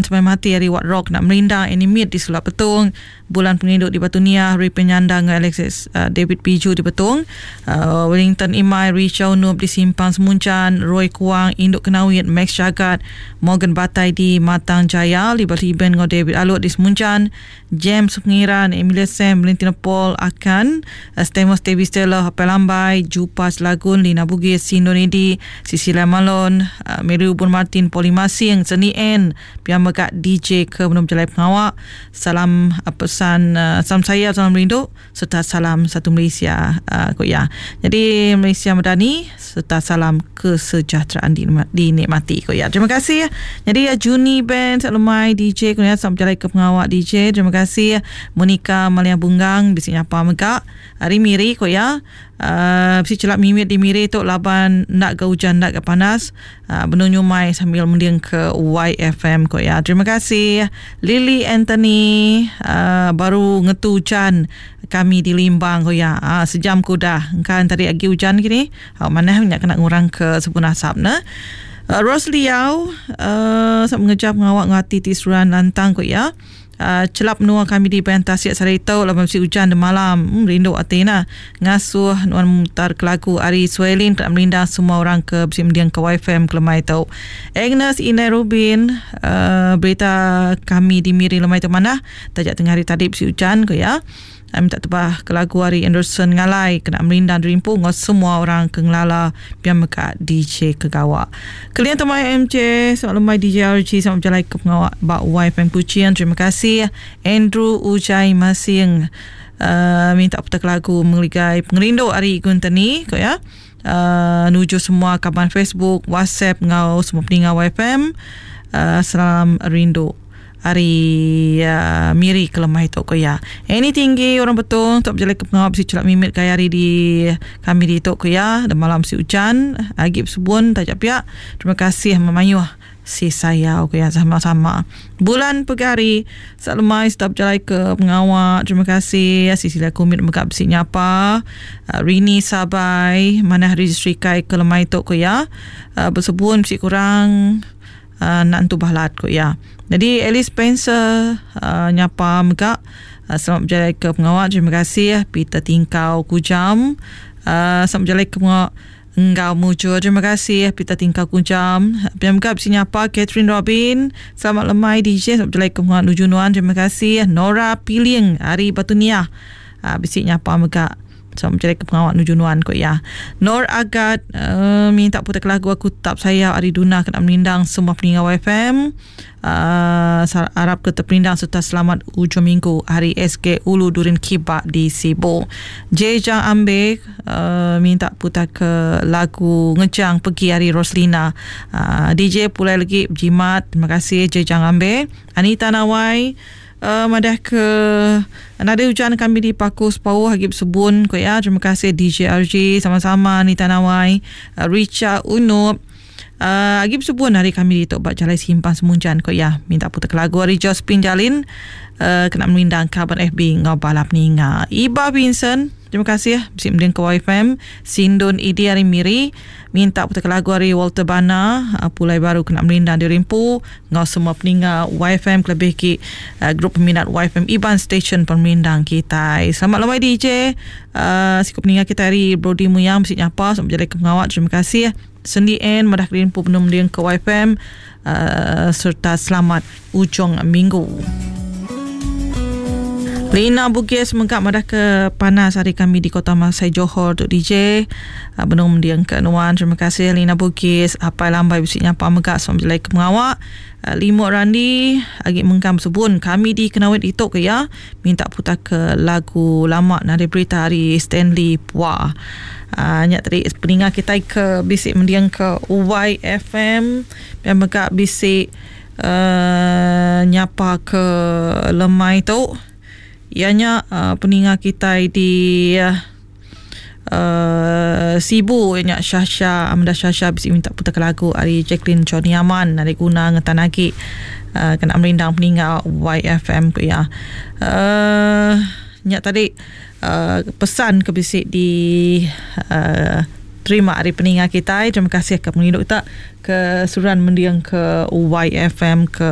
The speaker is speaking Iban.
Semai Mati ari Wat Rock nak merindang Animate di Sulap Betong, Bulan Pengerindu di Batu Niah, Ripin Nyandang enggau Alexis David Biju di Betong, Wellington Imai, Richa Unup di Simpang Semunchan, Roy Kuang, Indu Kenawit, Max Jagat, Morgan Batai di Matang Jaya, Libas Liben enggau David Alut di Semunchan, James Pengiran, Emilia Sam, Valentina Paul Akan, Stamos Tevi Stella, Hapai Lambai, Jupa Selagun, Lina Bugis, Sindon Edi, Cecilia Malon, Mary Ubun Martin, Polly Masing, Seni N, pia mega DJ ke benung bejalai pengawa. Salam pesan salam sayau salam rindu sereta salam satu Malaysia ku iya. Nyadi Malaysia Madani sereta salam kesejahteraan dinikmati ku iya. Terima kasih. Nyadi Juni Band Lemai DJ ku iya sama bejalai ke pengawa DJ. Terima kasih Monica Malia Bunggang bisi nyapa mega ari Miri ku iya. Uhh bisi chelap mimit di Miri tu laban enda ga ujan enda ga panas uhh benung nyumai sambil mending ke YFM ku iya. Terima kasih Lily Anthony uhh baru ngetu ujan kami di Limbang ku iya. Uhh sejam ke udah engka tadi agi ujan kini au manah nya kena ngurang ke sebun asap ne. Uhh Rose Liau uhh sama ngereja pengawa enggau ati ti seruran lantang ku iya. Chelap menua kami di Bayan Tasik sehari tu laban bisi ujan demalam. Rindu ati nah ngasuh nuan mutar ke lagu ari Suelin kena merindang semua orang ke bisi mending ke YFM ke lemai tu. Agnes Indai Rubin berita kami di Miri lemai tu manah taja tengah hari tadi bisi ujan ku iya. Minta tebah ke lagu ari Anderson Ngalai kena merindang diri empu enggau semua orang ke ngelala pia mega DJ ke gawa. Keling tu mai MJ selamat lemai DJ RG selamat bejalai ke pengawa ba YFM Kuching. Terima kasih Andrew Ujai Masing uh, minta putar ke lagu Mengeligai Pengerindu ari Igun Teni ko ya. Uh, nuju semua kaban Facebook, WhatsApp enggau semua peninga YFM. Uh, salam rindu. Ari Miri ke lemai tu ku iya. Annie tinggi orang betul untuk bejalai ke pengawa bisi chelap mimit gaya hari di kami ditu ku iya. Demalam bisi ujan agi besebun taja pia. Terima kasih memayuh si sayau ku iya sama-sama. Bulan pegari sa lemai serta bejalai ke pengawa. Terima kasih Sisilia Kumit mega bisi nyapa. Rini Sabai manah registry kai ke lemai tu ku iya. Besebun bisi kurang. Enda entu balat ku iya. Nyadi Alice Spencer nyapa mega selamat bejalai ke pengawa terima kasih Peter Tingkau Kujam selamat bejalai ke pengawa enggau mujur terima kasih Peter Tingkau Kujam. Pia mega bisi nyapa Catherine Robin selamat lemai DJ selamat bejalai ke pengawa nuju nuan terima kasih Nora Piling ari Batu Niah bisi nyapa mega. Sama mencari ke pengawa nuju nuan ko iya. Nor Agat uh, minta putar ke lagu aku tetap sayau ari Duna kena merindang semua peninga YFM. Uh, arap ke terperindang serta selamat ujung minggu hari SK Ulu Durin Kibak di Sibu. Jejang Ambe uh, minta putar ke lagu Ngejang Pergi hari Roslina. Uh, DJ pulai lagi berjimat. Terima kasih Jejang Ambe. Anita Nawai Madah ke nadai ujan kami di Paku Sepauh agi besebun ku iya. Terima kasih DJ RJ sama-sama Anita Nawai, Richa Unup. Agi besebun hari kami ditu ba Jalai Simpang Semunjan ku iya. Minta putar ke lagu ari Josephine Jalin kena merindang kaban FB enggau bala peninga. Iba Vincent, terima kasih bisi mending ke YFM. Sindun Idi ari Miri minta putar ke lagu ari Walter Bana pulai baru kena merindang diri empu. Enggau semua peninga YFM kelebih agi grup peminat YFM Iban Station Pemerindang kitai. Selamat lemai DJ. Uh, siku peninga kitai ari Brody Muyang bisi nyapa selamat bejalai ke pengawa. Terima kasih. Sendi N madah kediri empu benung mending ke YFM uh, serta selamat ujung minggu. Lina Bugis mega madah ke panas hari kami di Kota Masai Johor tu DJ. Ah, benung mending ke nuan. Terima kasih Lina Bugis. Apai Lambai bisi nyapa mega sama jelai ke pengawa. Ah, Limuk Randi agi mengkang besebun kami di Kenawit itu ke ya. Minta putar ke lagu lama nadai berita ari Stanley Pua. Uh, nya tadi peninga kita ke bisi mending ke YFM dan mega bisi uh, nyapa ke lemai tu. Iya nya uh, peninga kita di uh, Sibu iya nya Shasha Amanda Shasha bisi minta putar ke lagu ari Jacqueline Johnny Aman ari guna ngetan agi uh, kena merindang peninga YFM ku iya. Uh, nya tadi uh, pesan ke bisi di uh, terima ari peninga kitai. Terima kasih ke pengerindu kita ke seruran mending ke YFM ke.